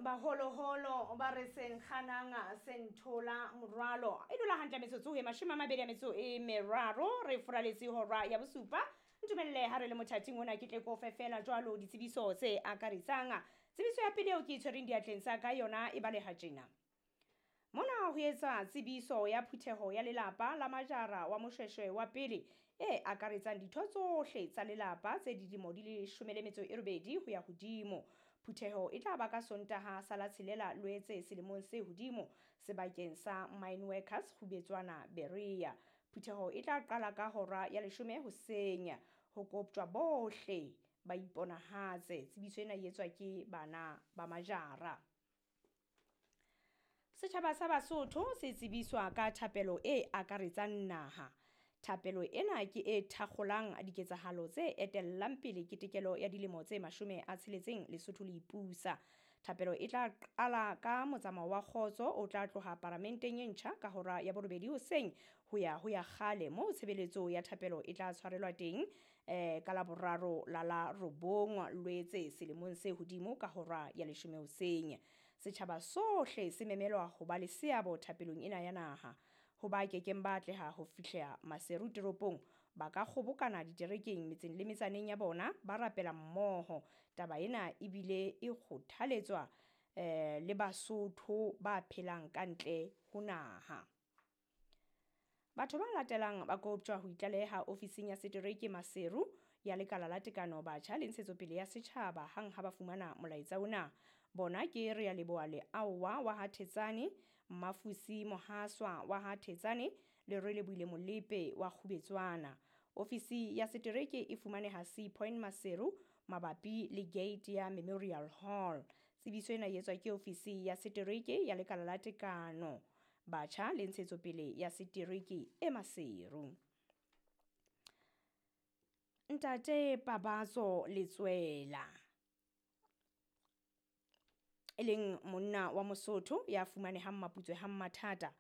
Baholoholo ba re senkganang senthola morwalo e dula hantle metsotso e 23 re furaletse hora ya bosupa. Ntumelle ha re le mothating ona ke tle ko fe fela jwalo ditsebiso tse akaretsang. Tsebiso ya pele eo ke e tshwereng diatleng tsa ka yona e baleha tjena. Mona ho etsa tsebiso ya phutheho ya lelapa la Majara wa Moshweshwe wa pele e akaretsang ditho tsohle tsa lelapa tse dilemo di le 18 ho ya hodimo. Phutheho e tla ba ka Sontaha sa la 6 Loetse selemong se hodimo sebakeng sa Mine Workers Kgubetswana Berea. Phutheho e tla qala ka hora ya 10 hoseng. Ho koptjwa bohle ba iponahatse. Tsebiso ena e etswa ke bana ba Majara. Setjhaba sa Basotho se tsebiswa ka thapelo e akaretsang naha. Thapelo ena ke e thakgolang diketsahalo tse etellang pele ketekelo ya dilemo tse 60 Lesotho le ipusa. Thapelo e tla qala ka motsamao wa kgotso o tla tloha paramenteng e ntjha ka hora ya 8 hoseng ho ya ho ya kgale moo tshebeletso ya thapelo e tla tshwarelwa teng ka la boraro la la 9 Loetse selemong se hodimo ka hora ya 10 hoseng. Setjhaba sohle se memelwa ho ba le seabo thapelong ena ya naha. Ho ba kekeng ba atleha ho fihla Maseru toropong ba ka kgobokana diterekeng metseng le metsaneng ya bona ba rapela mmoho. Taba ena ebile e kgothaletswa le Basotho ba phelang ka ntle ho naha. Batho ba latelang ba koptjwa ho itlaleha ofising ya setereke Maseru ya Lekala la Tekano Batjha le Ntshetsopele ya Setjhaba hang ha ba fumana molaetsa ona. Bona ke Rea Leboa Leaowa wa ha Thetsane, Mmafusi Mohaswa wa ha Thetsane le Relebohile Molepe wa Kgubetswana. Ofisi ya setereke e fumaneha Sea Point Maseru mabapi le gate ya Memorial Hall. Tsebiso ena e etswa ke ofisi ya setereke ya Lekala la Tekano Batjha le Ntshetsopele ya Setereke e Maseru. Ntate Pabatso Letswela e leng monna wa Mosotho ya fumanehang Maputswe ha Mathata